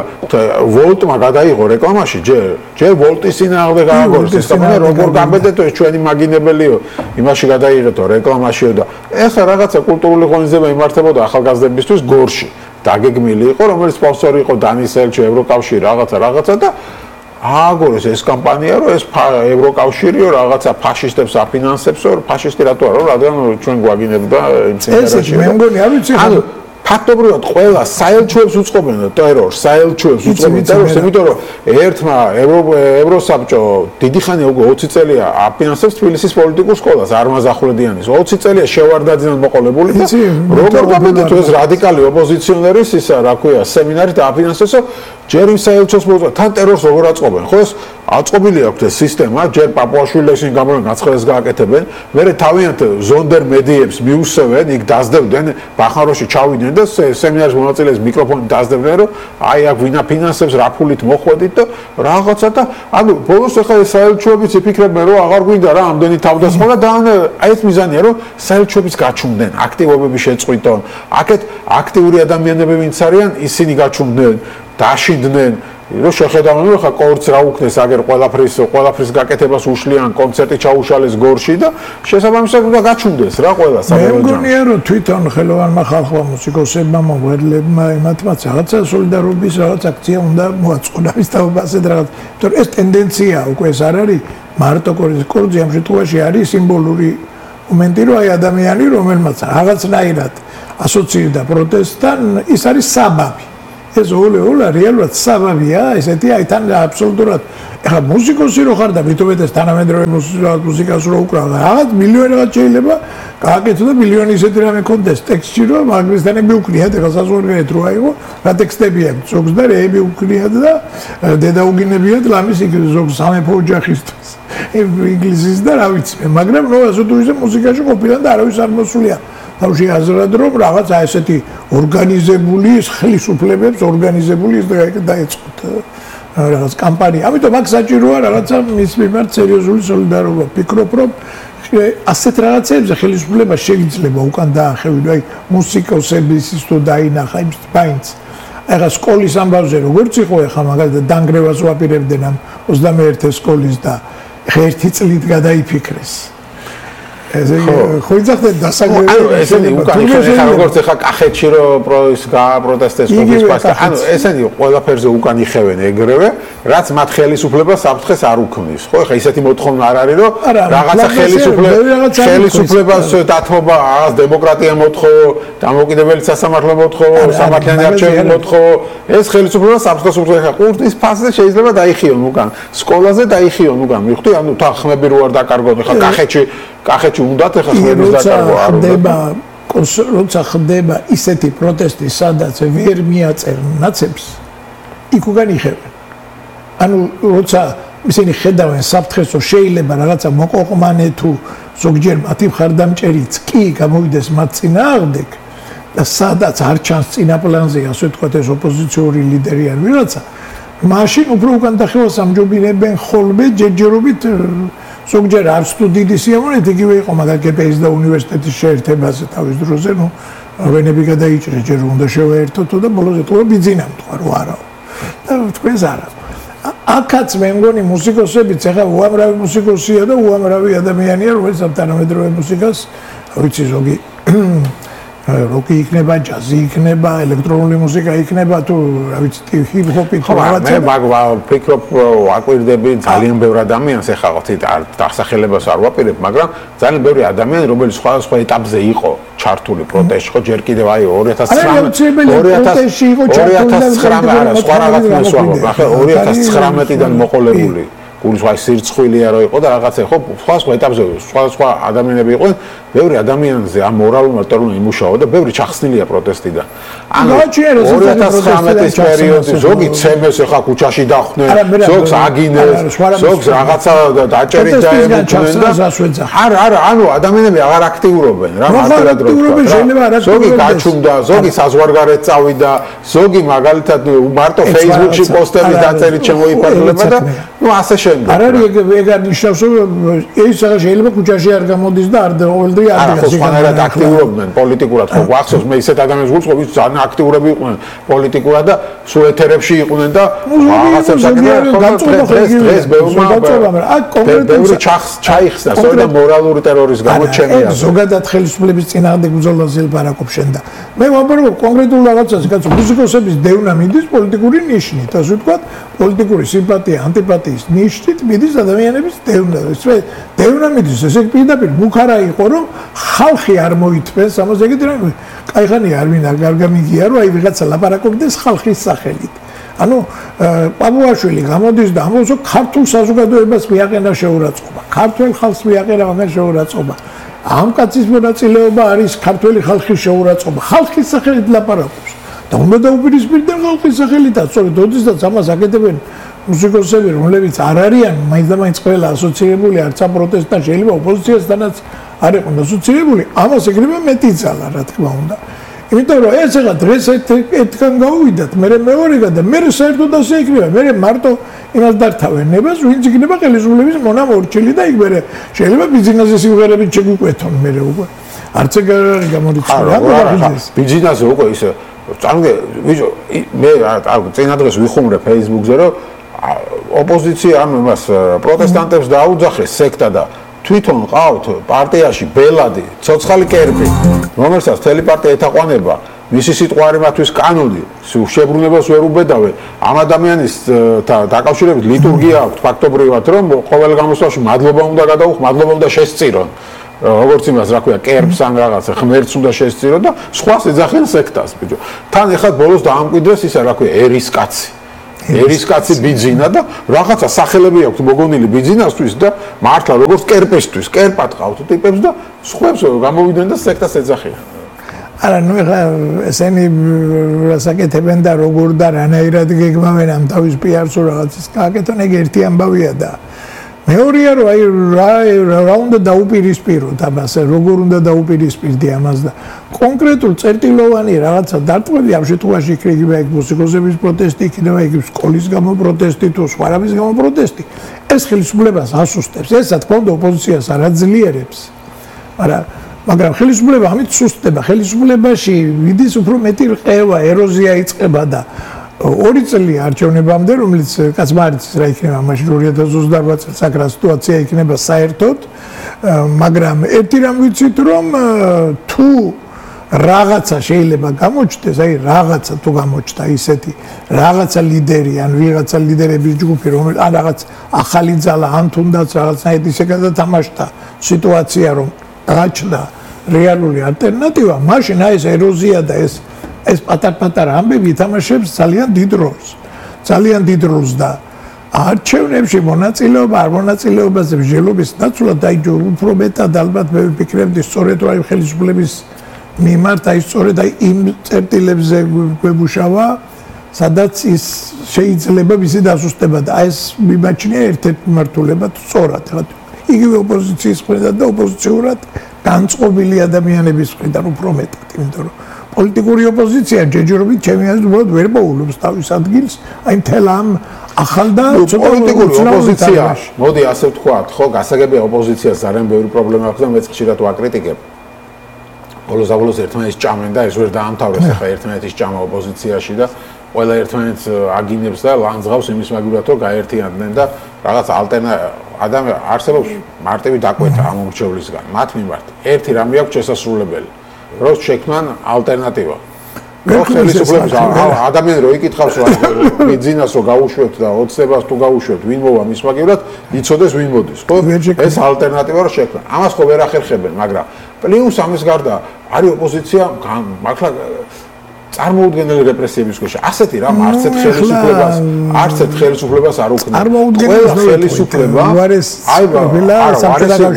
ვოლტმა გადაიღო რეკლამაში ჯერ ჯერ ვოლტი სინააღმდეგ გააგორეს ეს თქმა როგორ გამბედეთო ეს ჩვენი მაგინებელიო იმაში გადაიღეთო რეკლამაშიო და ეხლა რაღაცა კულტურული ღონისძიება იმართებოდა ახალგაზრდებისთვის გორში დაგეგმილი იყო რომელიც სპონსორი იყო დანის ელჩი ევროკავშირი რაღაცა რაღაცა და ააგორეს ეს კამპანია რომ ეს ევროკავშირიო რაღაცა ფაშისტებს აფინანსებსო ფაშისტი რატო არა რადგან ჩვენ გვაგინებდა იმ წინაშე მე მგონი არ ვიცი ფაქტობრივად ყველა საელჩოებს უწყობენ ტერორს, საელჩოებს უწყობენ ტერორს, იმიტომ რომ ერთმა ევროსაბჭო დიდი ხანია უკვე ოცი წელია აფინანსებს თბილისის პოლიტიკურ სკოლას, არმაზახურედიანის. ოცი წელია შევარდაძინად მოყოლებული და როგორ გამედეთ ეს რადიკალი ოპოზიციონერის ისა, რა ქვია, სემინარი დააფინანსესო ჯერ იმ საელჩოს მოუწყობენ, თან ტერორს როგორ აწყობენ, ხო ეს აწყობილი აქვს ეს სისტემა, ჯერ პაპუაშვილებს იმ გამორენ გაცხელეს გააკეთებენ, მერე თავიანთ ზონდერ მედიებს მიუსევენ, იქ დაძდებდნენ, ბახმაროში ჩავიდნენ და სემინარის მონაწილეს მიკროფონი დაძდებდნენ, რომ აი აქ ვინ აფინანსებს, რა ფულით მოხვედით და რაღაცა და ანუ ბოლოს ახლა ეს საელჩოებიც იფიქრებენ, რომ აღარ გვინდა რა ამდენი თავდასხმა და აი ეს მიზანია, რომ საელჩოებიც გაჩუმდნენ, აქტივობები შეწყვიტონ. აქეთ აქტიური ადამიანები ვინც არიან, ისინი გაჩუმდნენ, დაშინდნენ რომ შეხედავენ რომ ხა კორც რა უკნეს აგერ ყველაფრის ყველაფრის გაკეთებას უშლიან კონცერტი ჩაუშალეს გორში და შესაბამისად უნდა გაჩუნდეს რა ყველა საბოლოოდ. მე მგონია რომ თვითონ ხელოვანმა ხალხმა მუსიკოსებმა მოღვაწეებმა იმათმაც რაღაცა სოლიდარობის რაღაც აქცია უნდა მოაწყონ ამის თაობას და რაღაც. იმიტომ ეს ტენდენცია უკვე ეს არ არის მარტო კორძი ამ შემთხვევაში არის სიმბოლური მომენტი რომ აი ადამიანი რომელმაც რაღაცნაირად ასოცირდა პროტესტთან ის არის საბაბი. ეს ოლე ოლე რეალურად საბაბია, ესეთი აი თან აბსოლუტურად ეხლა მუსიკოსი რო ხარ და მithumetes თანამედროვე მუსიკას რო უკრავ, რაღაც მილიონი რაღაც შეიძლება გააკეთო და მილიონი ისეთი რამე კონდეს ტექსტში რომ მაგრისთანები უკრიათ, ეხლა საზღვარგარეთ რო აიღო, რა ტექსტები აქვს, ზოგს და რეები უკრიათ და დედა უგინებიათ ლამის იქ ზოგს სამეფო ოჯახისთვის. ინგლისის და რა ვიცი მე, მაგრამ ნუ ასე თუ ისე მუსიკაში ყოფილა და არავის არ მოსულია. თავში აზრად რომ რაღაც აი ესეთი ორგანიზებული ხელისუფლებებს ორგანიზებული ის დაეწყოთ რაღაც კამპანია. ამიტომ აქ საჭიროა რაღაცა მის მიმართ სერიოზული სოლიდარობა. ფიქრობ რომ ასეთ რაღაცებზე ხელისუფლება შეიძლება უკან დაახევინო, აი მუსიკოსების ის თუ დაინახა იმ სპაინს. ეხლა სკოლის ამბავზე როგორც იყო ეხლა მაგალითად დანგრევას ვაპირებდნენ ამ ოცდამეერთე სკოლის და ერთი წლით გადაიფიქრეს. ესე ხო იძახდნენ დასაგრევი. ანუ ესენი უკან იხება როგორც ეხლა კახეთში რომ ის გააპროტესტეს კუბის პასტა. ანუ ესენი ყველაფერზე უკან იხევენ ეგრევე, რაც მათ ხელისუფლებას საფრთხეს არ უქმნის. ხო ეხლა ისეთი მოთხოვნა არ არის რომ რაღაცა ხელისუფლებას ხელისუფლებას დათმობა, რაღაც დემოკრატია მოთხოვო, დამოუკიდებელი სასამართლო მოთხოვო, სამართლიანი არჩევანი მოთხოვო. ეს ხელისუფლება საფრთხეს უქმნის. ეხლა ყურტის ფასზე შეიძლება დაიხიონ უკან. სკოლაზე დაიხიონ უკან. მივხვდი, ანუ თან ხმები რო არ დაკარგოთ. ეხლა კახეთში კახეთში უნდათ ეხლა ხმების დაკარგვა არ უნდა. როცა ხდება ისეთი პროტესტი, სადაც ვერ მიაწერენ ნაცებს, იქ უკან იხევენ. ანუ როცა ისინი ხედავენ საფრთხეს, რომ შეიძლება რაღაცა მოყოყმანე თუ ზოგჯერ მათი მხარდამჭერიც კი გამოვიდეს მათ წინააღმდეგ და სადაც არ ჩანს წინა პლანზე, ასე ვთქვათ, ეს ოპოზიციური ლიდერი ან ვიღაცა, მაშინ უფრო უკან დახევას ამჯობინებენ ხოლმე ჯერჯერობით ზოგჯერ არც თუ დიდი სიამოვნებით იგივე იყო მაგალითად გპ-ის და უნივერსიტეტის შეერთებაზე თავის დროზე, ნუ ვენები გადაიჭრეს, ჯერ უნდა შევაერთოთ და ბოლოს ეთქვა ბიძინა თქვა რომ არაო. და თქვენს არა. აქაც მე მგონი მუსიკოსებიც ეხლა უამრავი მუსიკოსია და უამრავი ადამიანია, რომელიც ამ თანამედროვე მუსიკას, ვიცი ზოგი როკი იქნება, ჯაზი იქნება, ელექტრონული მუსიკა იქნება თუ რა ვიცი ჰიპ-ჰოპი თუ რაღაცა. მე მაგ ვფიქრობ ვაკვირდები ძალიან ბევრ ადამიანს ეხლა ვთქვით დასახელებას არ ვაპირებ, მაგრამ ძალიან ბევრი ადამიანი რომელიც სხვადასხვა ეტაპზე იყო ჩართული პროტესტში, ხო ჯერ კიდევ აი ორი ათას ცხრამეტი არა სხვა რაღაც მოსვამობ. ახლა ორი ათას ცხრამეტიდან მოყოლებული გულის ვაი სირცხვილია რო იყო და რაღაცა ხო სხვა სხვა ეტაპზე სხვა სხვა ადამიანები იყვნენ, ბევრი ადამიანზე ამ მორალურ მარტოულ იმუშავა და ბევრი ჩახსნილია პროტესტიდან. ანუ ორი ათას ცხრამეტის პერიოდში ზოგი ცემეს ახლა ქუჩაში დახვდნენ, ზოგს აგინეს, ზოგს რაღაცა დაჭერით დაემუქრნენ და არა არა ანუ ადამიანები აღარ აქტიურობენ რა მართლად რო ვთქვა. ზოგი გაჩუმდა, ზოგი საზღვარგარეთ წავიდა, ზოგი მაგალითად მარტო Facebook-ში პოსტების დაწერით შემოიფარგლება და ნუ ასე შემდეგ. არ არის ეგ არ ნიშნავს რომ ეს შეიძლება ქუჩაში არ გამოდის და არ ყოველდღე არა ხო სხვანაირად აქტიურობდნენ პოლიტიკურად ხო გვახსოვს მე ისეთ ადამიანებს ვუწყობ ვინც ძალიან აქტიურები იყვნენ პოლიტიკურად და სულ ეთერებში იყვნენ და რაღაცებს აკეთებდნენ დღეს დღეს ბევრმა აქ კონკრეტულად ჩაიხსნა სწორედ მორალური ტერორის გამო ჩემი აზრით ზოგადად ხელისუფლების წინააღმდეგ ბრძოლას ელაპარაკობ შენ და მე ვამბობ კონკრეტულ რაღაცას კაცო მუსიკოსების დევნა მიდის პოლიტიკური ნიშნით ასე ვთქვათ პოლიტიკური სიმპათია ანტიპათიის ნიშნით მიდის ადამიანების დევნა ეს დევნა მიდის ესე პირდაპირ მუხარა იყო რომ ხალხი არ მოითმეს ამას ეგეთი რამე კაიხანი არ ვინ არ გამიგია რომ აი ვიღაცა ლაპარაკობდეს ხალხის სახელით ანუ პაბუაშვილი გამოდის და ამბობს რომ ქართულ საზოგადოებას მიაყენა შეურაცხყოფა ქართულ ხალხს მიაყენა მაგან შეურაცხყოფა ამ კაცის მონაწილეობა არის ქართული ხალხის შეურაცხყოფა ხალხის სახელით ლაპარაკობს და უნდა დაუპირისპირდნენ ხალხის სახელითაც სწორედ ოდესაც ამას აკეთებენ მუსიკოსები რომლებიც არ არიან მაინც და მაინც ყველა ასოცირებული არც ამ პროტესტთან შეიძლება ოპოზიციასთანაც არ იყვნენ ასოცირებული ამას ეგრევე მეტი ძალა რა თქმა უნდა იმიტომ რომ ეს ახლა დღეს ერთგან გავუვიდათ მე მეორეგან და მე საერთოდ ასე იქნება მე მარტო იმას დართავენ ნებას ვინც იქნება ხელისუფლების მონამორჩილი და იქ მე შეიძლება ბიზნესზე სიმღერებით შეგვიკვეთონ მე უკვე არც ეგ არ არის გამორიცხული ბიზნესზე უკვე ისე წარგე ვიჟო მე წინა დღეს ვიხუმრე Facebook-ზე რომ ოპოზიცია ანუ მას პროტესტანტებს დაუძახეს სექტა და თვითონ ყავთ პარტიაში ბელადი, ცოცხალი კერპი, რომელსაც მთელი პარტია ეთაყვანება, მისი სიტყვა არის მათთვის კანონი, შებრუნებას ვერ უბედავენ. ამ ადამიანის დაკავშირებით ლიტურგია აქვს ფაქტობრივად, რომ ყოველ გამოსვლაში მადლობა უნდა გადაუხ, მადლობა უნდა შესწირონ. როგორც იმას რა ქვია, კერპს ან რაღაცა ღმერთს უნდა შესწირო და სხვას ეძახიან სექტას, ბიჭო. თან ეხლა ბოლოს დაამკვიდრეს ისა რა ქვია, ერის კაცი. ერის კაცი ბიძინა და რაღაცა სახელები აქვს მოგონილი ბიძინასთვის და მართლა როგორც კერპესთვის, კერპად ყავთ ტიპებს და სხვებს გამოვიდნენ და სექტას ეძახიან. არა, ნუ ეხლა ესენი რასაკეთებენ და როგორ და რანაირად გეგმავენ ამ თავის პიარს თუ რაღაცის გააკეთონ, ეგ ერთი ამბავია და მეორეა რომ აი რა უნდა დაუპირისპიროთ ამას, როგორ უნდა დაუპირისპირდი ამას და კონკრეტულ წერტილოვანი რაღაცა დარტყმები ამ შემთხვევაში იქნება იქ მუსიკოსების პროტესტი, იქნება იქ სკოლის გამო პროტესტი თუ სხვა რამის გამო პროტესტი. ეს ხელისუფლებას ასუსტებს, ეს რა თქმა უნდა ოპოზიციას არ აძლიერებს. მაგრამ მაგრამ ხელისუფლება ამით სუსტდება, ხელისუფლებაში ვიდის უფრო მეტი რყევა, ეროზია იწყება და ორი წელი არჩევნებამდე, რომელიც კაცმარიცის რა იქნება, მაშინ ორი ათას ოცდაარბა წელს აქ რა სიტუაცია იქნება საერთოდ, მაგრამ ერთი რამ ვიცით, რომ თუ რაღაცა შეიძლება გამოჩნდეს, აი რაღაცა თუ გამოჩნდა ისეთი რაღაცა ლიდერი ან ვიღაცა ლიდერების ჯგუფი, რომელიც ან რაღაც ახალი ძალა, ან თუნდაც რაღაცნაირად ისე გადათამაშდა სიტუაცია, რომ გაჩნდა რეალური ალტერნატივა, მაშინ აი ეს ეროზია და ეს ეს პატარ-პატარა ამბები ითამაშებს ძალიან დიდ როლს. ძალიან დიდ როლს და არჩევნებში მონაწილეობა, არ მონაწილეობაზე მსჯელობის ნაცვლად დაიჯო უფრო მეტად ალბათ მე ვფიქრებდი სწორედ აი ხელისუფლების მიმართ აი სწორედ აი იმ წერტილებზე გვებუშავა, სადაც ის შეიძლება მისი დასუსტება და აი ეს მიმაჩნია ერთ-ერთი მართულებად სწორად. იგივე ოპოზიციის მხრიდან და ოპოზიციურად განწყობილი ადამიანების მხრიდან უფრო მეტად, იმიტომ რომ პოლიტიკური ოპოზიცია ჯერჯერობით ჩემი აზრით უბრალოდ ვერ მოულობს თავის ადგილს, აი მთელ ამ ახალ და პოლიტიკური ოპოზიცია, მოდი ასე ვთქვათ, ხო, გასაგებია ოპოზიციას ძალიან ბევრი პრობლემა აქვს და მეც ხშირად ვაკრიტიკებ. ბოლოს-ბოლოს ერთმანეთს ჭამენ და ეს ვერ დაამთავრეს ახლა ერთმანეთის ჭამა ოპოზიციაში და ყველა ერთმანეთს აგინებს და ლანძღავს იმის მაგივრად რომ გაერთიანდნენ და რაღაც ალტერნატივა ადამი არსებობს მარტივი დაკვეთა ამ მრჩევლისგან მათ მიმართ. ერთი რამე აქვს შესასრულებელი. რომ შექმნან ალტერნატივა. რო ხელისუფლების ადამიანი რო იკითხავს რა ბიზნესს რო გაუშვებთ და ოცნებას თუ გაუშვებთ ვინ მოვა მის მაგივრად იცოდეს ვინ მოდის. ხო ეს ალტერნატივა რო შექმნან. ამას ხო ვერ ახერხებენ, მაგრამ პლუს ამის გარდა არის ოპოზიცია მართლა წარმოუდგენელი რეპრესიების ქვეშ. ასეთი რამ არც ერთ ხელისუფლებას, არც ერთ ხელისუფლებას არ უქმნის. ყველა ხელისუფლება აი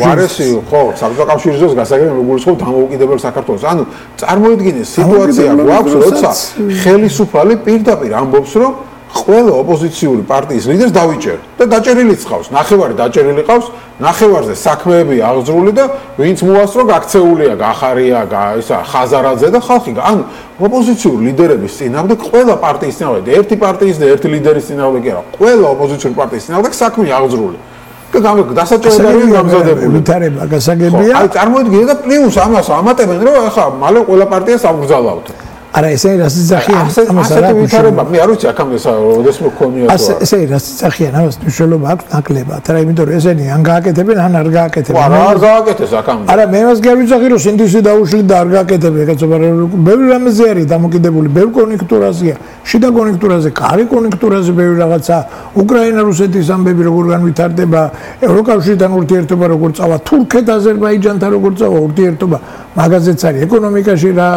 ვარესი ხო, საბჭოთა კავშირის გასაგები მოგულისხმობ დამოუკიდებელ საქართველოს. ანუ წარმოიდგინე სიტუაცია გვაქვს, როცა ხელისუფალი პირდაპირ ამბობს, რომ ყველა ოპოზიციური პარტიის ლიდერს დავიჭერ და დაჭერილიც ყავს, ნახევარი დაჭერილი ყავს, ნახევარზე საქმეები აღძრული და ვინც მოასწრო გაქცეულია, გახარია, ისა ხაზარაძე და ხალხი. ანუ ოპოზიციური ლიდერების წინააღმდეგ ყველა პარტიის წინააღმდეგ, ერთი პარტიის და ერთი ლიდერის წინააღმდეგ კი არა, ყველა ოპოზიციური პარტიის წინააღმდეგ საქმე აღძრული. და დასაჭერებელი გამზადებული. ვითარება გასაგებია. აი წარმოიდგინე და პლუს ამას ამატებენ, რომ ახლა მალე ყველა პარტიას აღგზავნავთ. არა ესე რას იძახიან ამას არ ვითარება მე არ ვიცი აქამდე როდესმე გქონია ასე ესე რას იძახიან ამას მნიშვნელობა აქვს ნაკლებად არა იმიტომ რომ ესენი ან გააკეთებენ ან არ გააკეთებენ არა არ გააკეთეს აქამდე არა მე მას გავიძახი რომ სინდისი დაუშლი და არ გააკეთებენ კაცობა ბევრი რამეზე არის დამოკიდებული ბევრ კონექტურაზეა შიდა კონექტურაზე კარი კონექტურაზე ბევრი რაღაცა უკრაინა რუსეთის ამბები როგორ განვითარდება ევროკავშირთან ურთიერთობა როგორ წავა თურქეთ აზერბაიჯანთან როგორ წავა ურთიერთობა მაგაზეც არის ეკონომიკაში რა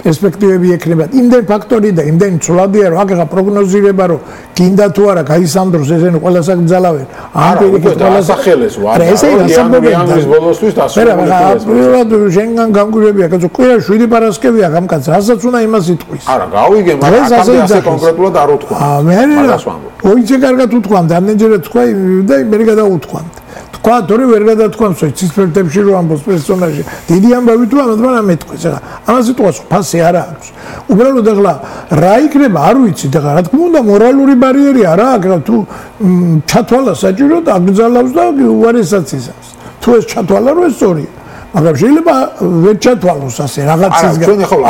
პერსპექტივები ექნება იმდენ ფაქტორი და იმდენ ცვლადია რომ აქ პროგნოზირება რომ გინდა თუ არა გაისამდროს ესენი ყველას აკრძალავენ ამ პირიქით ყველას ახელეს ვარ ესე იანვრის ბოლოსთვის დასრულებული შენგან გამგვირებია კაცო კვირა შვიდი პარასკევია ამ კაცს რასაც უნდა იმას იტყვის არა გავიგე მაგრამ აქამდე ასე კონკრეტულად არ უთქვა აა მე ოიცე კარგად უთქვამთ ამდენჯერაც თქვა და მე გადაუთქვამთ თქვა თორე ვერ გადათქვამს ცისფერდებში რომ ამბობს პერსონაჟი დიდი ამბავი თუ ამათ მაგრამ მეთქვის ახლა ამას იტყვას ფასი არ აქვს უბრალოდ ახლა რა იქნება არ ვიცით ახლა რა თქმა უნდა მორალური ბარიერი არა აქ თუ ჩათვალა საჭირო და აკრძალავს და უარესაც ისავს თუ ეს ჩათვალა რომ ეს სწორია მაგრამ შეიძლება ვერ ჩათვალოს ასე რაღაცის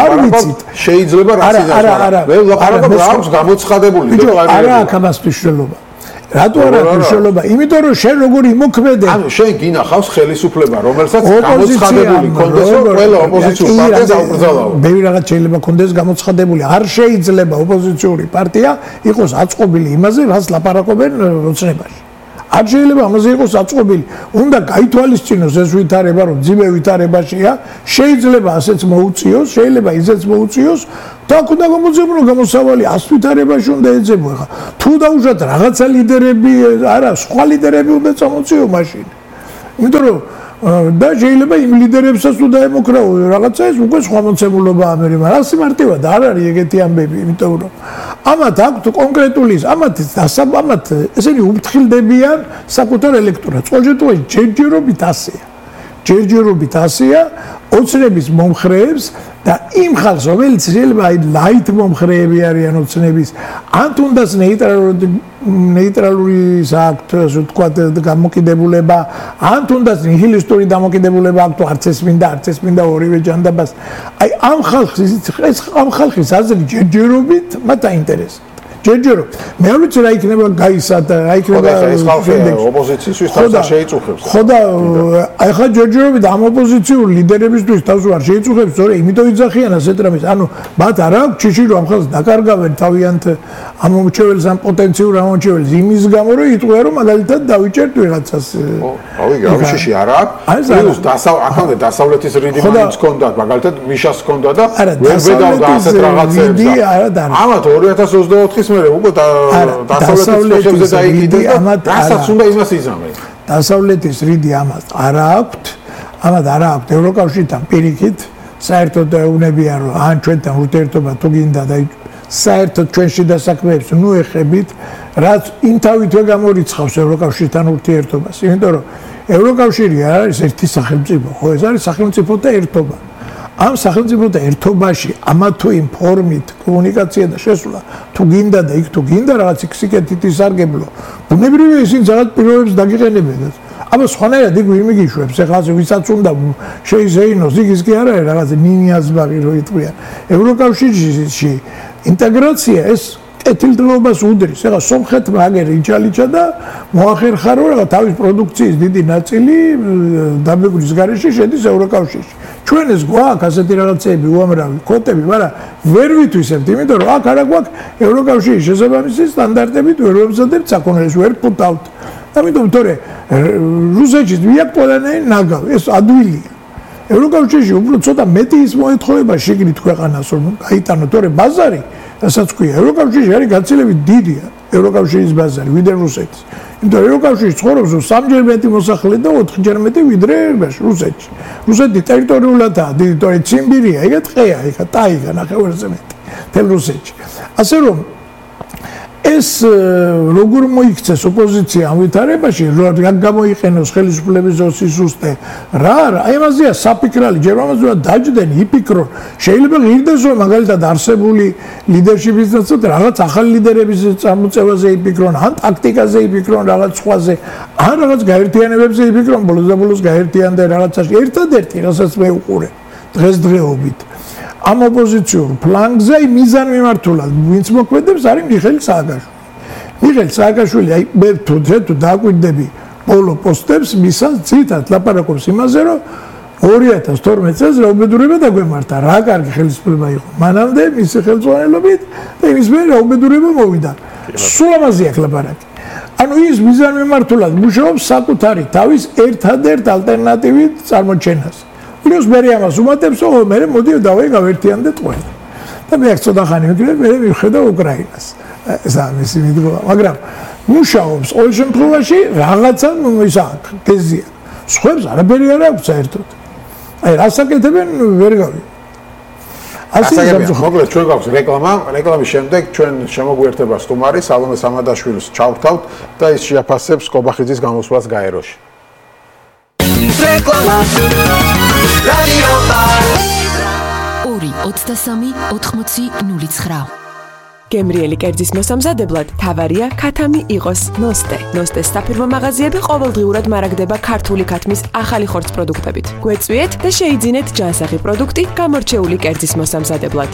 არ ვიცით შეიძლება რაც იზარდა მე ლაპარაკობ რა აქვს გამოცხადებული დეკლარირებული არა აქ ამას მნიშვნელობა რატო არა მნიშვნელობა? იმიტომ რომ შენ როგორ იმოქმედე? ანუ შენ გინახავს ხელისუფლება, რომელსაც გამოცხადებული კონდეს, რომ ყველა ოპოზიციურ პარტიას აუკრძალავ. ბევრი რაღაც შეიძლება კონდეს გამოცხადებული. არ შეიძლება ოპოზიციური პარტია იყოს აწყობილი იმაზე, რაც ლაპარაკობენ ოცნებაში. არ შეიძლება ამაზე იყოს აწყობილი. უნდა გაითვალისწინოს ეს ვითარება, რომ ძიმე ვითარებაშია, შეიძლება ასეც მოუწიოს, შეიძლება ისეც მოუწიოს. და უნდა გამოძებნო გამოსავალი ას ვითარებაში უნდა ეძებო. ხა თუ დაუშვათ რაღაცა ლიდერები, არა, სხვა ლიდერები უნდა წამოწიო მაშინ. იმიტომ რომ და შეიძლება იმ ლიდერებსაც თუ დაემოკრაო რაღაცა ეს უკვე სხვა მოცემულობა ამერი, მაგრამ ასე მარტივად არ არის ეგეთი ამბები, იმიტომ რომ ამათ აქვთ კონკრეტული ამათ დასაბამად ესენი უფრთხილდებიან საკუთარ ელექტორატს. ყოველ შემთხვევაში ჯერჯერობით ასეა. ჯერჯერობით ასეა ოცნების მომხრეებს და იმ ხალხს, რომელიც შეიძლება აი ლაით მომხრეები არიან ოცნების, ან თუნდაც ნეიტრალური ნეიტრალური საქვთ, ასე ვთქვათ, გამოკიდებულება, ან თუნდაც ნიჰილისტური დამოკიდებულება აქვს, არც ეს მინდა, არც ეს მინდა ორივე ჯანდაბას. აი ამ ხალხის ეს ამ ხალხის აზრი ჯერჯერობით მათ აინტერესებს. ჯერჯერო მე არ ვიცი რა იქნება გაისადა, რა იქნება ეს ხალხი ოპოზიციისთვის თავს შეიწუხებს. ხო და აი ხა ჯერჯერობით ამ ოპოზიციური ლიდერებისთვის თავს არ შეიწუხებს, სწორედ იმიტომ იძახიან ასეთ რამეს. ანუ მათ არ აქვს ჩიში რომ ამ ხალხს დაკარგავენ თავიანთ ამომრჩეველს ამ პოტენციურ ამომრჩეველს იმის გამო რომ იტყვია რომ მაგალითად დავიჭერთ ვიღაცას. რავი, რა შეში არ აქვს. პლუს აქამდე დასავლეთის რიდი მაინც ჰქონდათ, მაგალითად მიშას ჰქონდა და ვერ ვედავდა ასეთ რაღაცებს. ამათ ორი ათას ოცდაოთხის უკვე დასავლეთის დაიკიდე და რასაც უნდა იმას იზამენ. დასავლეთის რიდი ამას არ აქვთ, ამათ არ აქვთ ევროკავშირთან პირიქით, საერთოდ უნებიან რომ ან ჩვენთან ურთიერთობა თუ გინდა და საერთოდ ჩვენში დასაქმეებს ნუ ეხებით, რაც იმ თავითვე გამორიცხავს ევროკავშირთან ურთიერთობას, იმიტომ რომ ევროკავშირი არ არის ერთი სახელმწიფო, ხო ეს არის სახელმწიფოთა ერთობა. ამ სახელმწიფოთა ერთობაში ამა თუ იმ ფორმით კომუნიკაცია და შესვლა თუ გინდა და იქ თუ გინდა რაღაც სიკეთით ისარგებლო ბუნებრივია ისინი რაღაც პირობებს დაგიყენებენ აბა სხვანაირად იქ ვინ მიგიშვებს ეხლა ვისაც უნდა შეიზეინოს იქ ის კი არ არის რაღაც ნინიაზბაღი რო იტყვიან ევროკავშირში ინტეგრაცია ეს ეთილდროობას უდრის ეხლა სომხეთმა აგერ იჭალიჭა და მოახერხა რომ რაღაც თავის პროდუქციის დიდი ნაწილი დაბეგვრის გარეშე შედის ევროკავშირში ჩვენ ეს გვაქვს ასეთი რაღაცები უამრავი კოტები, მაგრამ ვერ ვითვისებთ, იმიტომ რომ აქ არა გვაქვს ევროკავშირის შესაბამისი სტანდარტებით ვერ ვებზადებთ საკონელს, ვერ ფუტავთ. ამიტომ თორე რუსეთში ვიაკ ყველანაირი ნაგავი, ეს ადვილია. ევროკავშირში უფრო ცოტა მეტი ის მოეთხოვება შეგნით ქვეყანას, რომ გაიტანო თორე ბაზარი, რასაც ქვია, ევროკავშირში არის გაცილებით დიდია ევროკავშირის ბაზარი, ვიდრე რუსეთის. იმიტომ ევროკავშირში ცხოვრობს სამჯერ მეტი მოსახლე და ოთხჯერ მეტი ვიდრე რუსეთში. რუსეთი ტერიტორიულადაა დიდი, თორე ციმბირია, ეგ ტყეა, ეგ ტაიგა ნახევარზე მეტი. თელ რუსეთში. ასე რომ ეს როგორ მოიქცეს ოპოზიცია ამ ვითარებაში, რა გამოიყენოს ხელისუფლების სისტემა, რა არა, აი ამაზეა საფიქრალი, ჯერ ამაზე დაჯდნენ, იფიქრონ. შეიძლება ღირდეს რომ მაგალითად არსებული ლიდერშიპის წინათ რაღაც ახალი ლიდერების წამოწევაზე იფიქრონ, ან ტაქტიკაზე იფიქრონ, რაღაც სხვაზე, ან რაღაც გაერთიანებებზე იფიქრონ, ბოლოს და ბოლოს გაერთიანდნენ რაღაცაში. ერთადერთი, რასაც მე უყურე დღესდღეობით ამ ოპოზიციურ ფლანგზე მიზან მიმართულად ვინც მოქმედებს არის მიხეილ სააკაშვილი. მიხეილ სააკაშვილი აი მე თუ თუ დააკვირდები ბოლო პოსტებს მისას ძირითადად ლაპარაკობს იმაზე რომ ორი ათას თორმეტ წელს რაუბედურება დაგვემართა რა კარგი ხელისუფლება იყო მანამდე მისი ხელმძღვანელობით და იმის მერე რაუბედურება მოვიდა სულ ამაზე აქ ლაპარაკი ანუ ის მიზან მიმართულად მუშაობს საკუთარი თავის ერთადერთ ალტერნატივით წარმოჩენას პლუს მე ამას უმატებს, ო მე მოდი დავაი გავერთიანდეთ ყველა. და მე აქ ცოტა ხანი მეკრე მე მივხედა უკრაინას. ეს ამის მიდგომა, მაგრამ მუშაობს ყოველ შემთხვევაში რაღაცა ისა გეზია. სხვებს არაფერი არ აქვს საერთოდ. აი რასაკეთებენ ვერ გავი. ასე მოკლედ ჩვენ გვაქვს რეკლამა, რეკლამის შემდეგ ჩვენ შემოგვიერთება სტუმარი სალომე სამადაშვილს ჩავთავთ და ის შეაფასებს კობახიძის გამოსვლას გაეროში. რეკლამა რადიო ორი ოცდასამი ოთხმოცი ნული ცხრა გემრიელი კერძის მოსამზადებლად თავარია ქათამი იყოს ნოსტე. ნოსტეს საფირმო მაღაზიები ყოველდღიურად მარაგდება ქართული ქათმის ახალი ხორცს პროდუქტებით. გვეწვიეთ და შეიძინეთ ჯანსაღი პროდუქტი გამორჩეული კერძის მოსამზადებლად.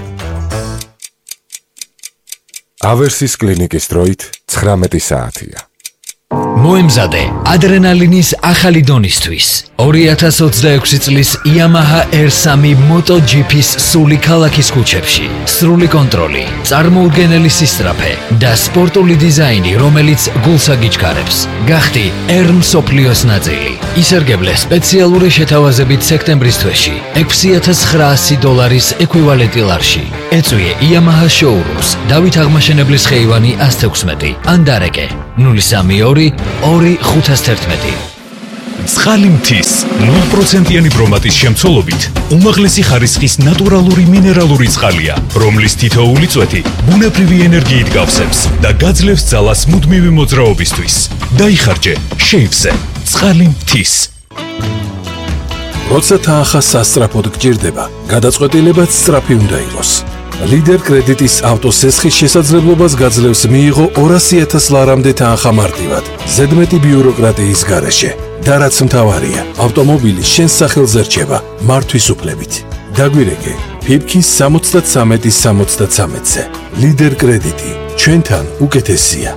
ავერსის კლინიკის დროით ცხრამეტი საათია. მოემზადე ადრენალინის ახალი დონისთვის. ორი ათას ოცდაექვსი წლის Yamaha R three MotoGP-ის სული ქალაქის ქუჩებში. სრული კონტროლი, წარმოუდგენელი სისწრაფე და სპორტული დიზაინი, რომელიც გულს აგიჩქარებს. გახდი R მსოფლიოს ნაწილი. ისარგებლე სპეციალური შეთავაზებით სექტემბრის თვეში ექვსი ათას ცხრაასი დოლარის ეკვივალენტი ლარში. ეწვიე Yamaha showrooms, დავით აღმაშენებლის ხეივანი ას თექვსმეტი, ან დარეკე ნული სამი ორი ორი ხუთას თერთმეტი. წყალი მთის ნულ პროცენტიანი ბრომატის შემცველობით უმაღლესი ხარისხის ნატურალური მინერალური წყალია, რომლის თითოეული წვეთი ბუნებრივი ენერგიით გავსებს და გაძლევს ძალას მუდმივი მოძრაობისთვის. დაიხარჯე შეივზე წყალი მთის. როცა თანხა სასწრაფოდ გჭირდება, გადაწყვეტილებაც სწრაფი უნდა იყოს. ლიდერ კრედიტის ავტოსესხის შესაძლებლობას გაძლევს მიიღო ორასი ათას ლარამდე თანხა მარტივად, ზედმეტი ბიუროკრატიის გარეშე. და რაც მთავარია, ავტომობილი შენს სახელზე რჩება მართვის უფლებით. დაგვირეკე ფიფქის სამოცდათრამეტი სამოცდათრამეტზე. ლიდერ კრედიტი ჩვენთან უკეთესია.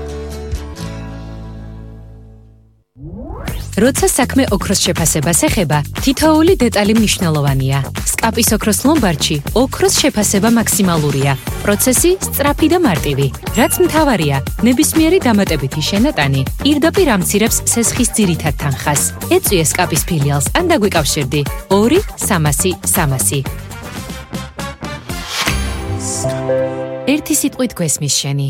როცა საქმე ოქროს შეფასებას ეხება, თითოეული დეტალი მნიშვნელოვანია. სკაპის ოქროს ლომბარდში ოქროს შეფასება მაქსიმალურია. პროცესი სწრაფი და მარტივი. რაც მთავარია, ნებისმიერი დამატებითი შენატანი პირდაპირ ამცირებს სესხის ძირითად თანხას. ეწვიე სკაპის ფილიალს ან დაგვიკავშირდი ორი სამასი სამასი. ერთი სიტყვით გვესმის შენი.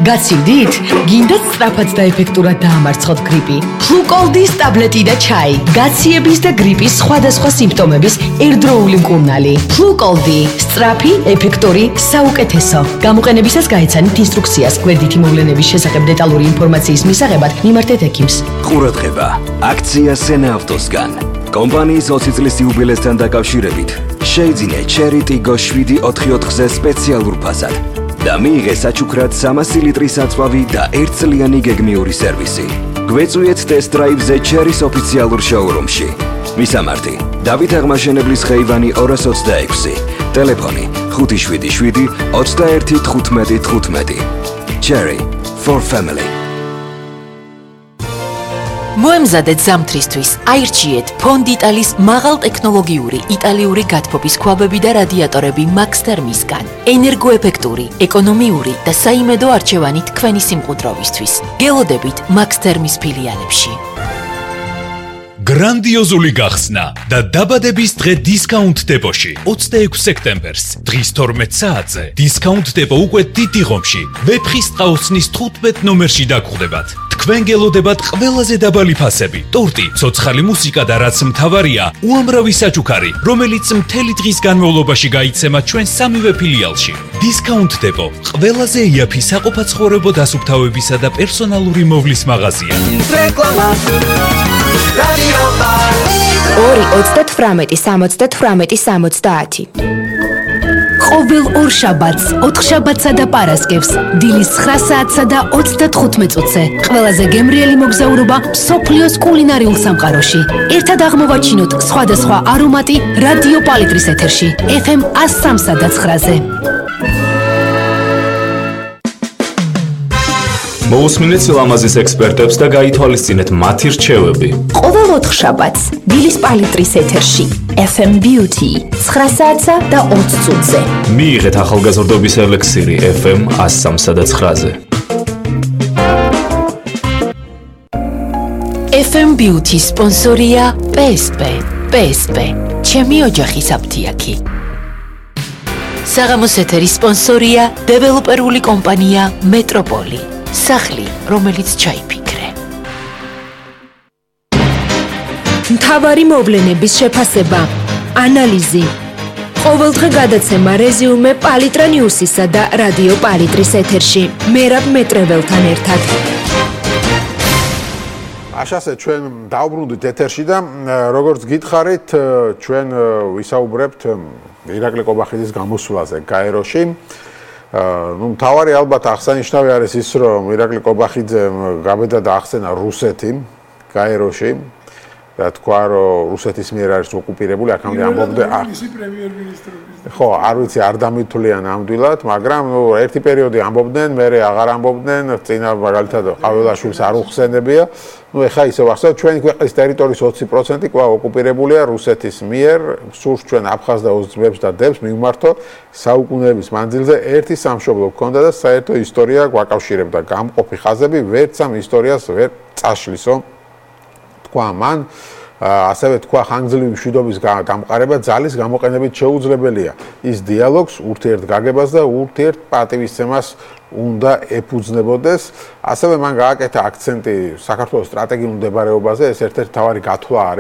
გაცილდით? გინდათ სწრაფად და ეფექტურად დაამარცხოთ გრიპი? ფლუკოლდის ტაბლეტი და ჩაი. გაციების და გრიპის სხვადასხვა სიმპტომების ერთდროული მკურნალი. ფლუკოლდი, სწრაფი, ეფექტური, საუკეთესო. გამოყენებისას გაეცანით ინსტრუქციას. გვერდითი მოვლენების შესახებ დეტალური ინფორმაციის მისაღებად მიმართეთ ექიმს. ყურადღება! აქცია სენა ავტოსგან. კომპანიის ოცი წლის იუბილესთან დაკავშირებით შეიძინე Cherry Tiggo შვიდი ოთხი ოთხზე სპეციალურ ფასად. და მიიღე საჩუქრად სამასი ლიტრი საწვავი და ერთწლიანი გეგმიური სერვისი. გვეწვიეთ ტესტ-დრაივზე Cherry-ის ოფიციალურ შოურუმში. მისამართი: დავით აღმაშენებლის ხეივანი ორას ოცდაექვსი. ტელეფონი: ხუთი შვიდი შვიდი ოცდაერთი თხუთმეტი თხუთმეტი. Cherry for family. მოემზადეთ ზამთრისთვის, აირჩიეთ ფონდიტალის მაღალტექნოლოგიური იტალიური გათბობის ქვაბები და რადიატორები Max Thermis-გან. ენერგოეფექტური, ეკონომიური და საიმედო არჩევანი თქვენი სიმყუდროვისთვის. გელოდებით Max Thermis ფილიალებში. გრანდიოზული გახსნა და დაბადების დღე დისკაუნტ დეპოში ოცდაექვსი სექტემბერს დღის თორმეტ საათზე დისკაუნტ დეპო უკვე დიდი ღომში ვეფხის ტყაოსნის თხუთმეტ ნომერში დაგხვდებათ. თქვენ გელოდებათ ყველაზე დაბალი ფასები, ტორტი, ცოცხალი მუსიკა და რაც მთავარია, უამრავი საჩუქარი, რომელიც მთელი დღის განმავლობაში გაიცემა ჩვენ სამივე ფილიალში. დისკაუნტ დეპო ყველაზე იაფი საყოფაცხოვრებო დასუფთავებისა და პერსონალური მოვლის მაღაზია. რეკლამა ორი ოცდათვრამეტი სამოცდათვრამეტი სამოცდაათი. ყოველ ორ შაბათს, ოთხშაბათსა და პარასკევს, დილის ცხრა საათსა და ოცდათხუთმეტ წუთზე, ყველაზე გემრიელი მოგზაურობა მსოფლიოს კულინარიულ სამყაროში. ერთად აღმოვაჩინოთ სხვადასხვა არომატი რადიო პალიტრის ეთერში, ეფ ემ ას სამსა და ცხრაზე. მოусმინეთ ლამაზის ექსპერტებს და გაითვალისწინეთ მათი რჩევები. ყოველ ოთხშაბათს, დილის პალიტრის ეთერში, ეფ ემ Beauty, ცხრა საათსა და ოცი წუთზე. მიიღეთ ახალგაზრდობის ელექსირი ეფ ემ ას სამსა და ცხრაზე. ეფ ემ Beauty სპონსორია პე ეს პე. პე ეს პე, ჩემი ოჯახის აფთიაქი. საღამოს ეთერის სპონსორია დეველოპერული კომპანია მეტროპოლი. სახლი, რომელიც ჩაიფიქრე. მთავარი მოვლენების შეფასება, ანალიზი. ყოველდღე გადაცემა რეზიუმე პალიტრა ნიუსისა და რადიო პალიტრის ეთერში. მერაბ მეტრეველთან ერთად. აშასე ჩვენ დავბრუნდით ეთერში და როგორც გითხარით, ჩვენ ვისაუბრებთ ირაკლი კობახიძის გამოსვლაზე გაეროში. ну მთავარი ალბათ აღსანიშნავი არის ის რომ ირაკლი კობახიძემ გაბედა და ახსენა რუსეთი გაეროში და თქვა რომ რუსეთის მიერ არის ოკუპირებული, აქამდე ამბობდნენ ისი პრემიერ-მინისტრობის. ხო, არ ვიცი, არ დამითვლიან ამდვილად, მაგრამ ნუ ერთი პერიოდი ამბობდნენ, მერე აღარ ამბობდნენ, წინა მაგალითად ყაველაშვილს არ უხსენებია. ნუ ეხა ისე ვახსოვთ, ჩვენი ქვეყნის ტერიტორიის ოცი პროცენტი კვლავ ოკუპირებულია რუსეთის მიერ, სურს ჩვენ აფხაზდაუს ძმებს და დებს მივმართოთ საუკუნეების მანძილზე ერთი სამშობლო გქონდა და საერთო ისტორია გვაკავშირებდა. გამყოფი ხაზები ვერც ამ ისტორიას ვერ წაშლისო. თქვა მან ასევე თქვა ხანგრძლივი მშვიდობის დამყარება ძალის გამოყენებით შეუძლებელია. ის დიალოგს, ურთიერთგაგებას და ურთიერთპატივისცემას უნდა ეფუძნებოდეს. ასევე მან გააკეთა აქცენტი საქართველოს სტრატეგიულ მდებარეობაზე, ეს ერთ-ერთი მთავარი გათვლა არის.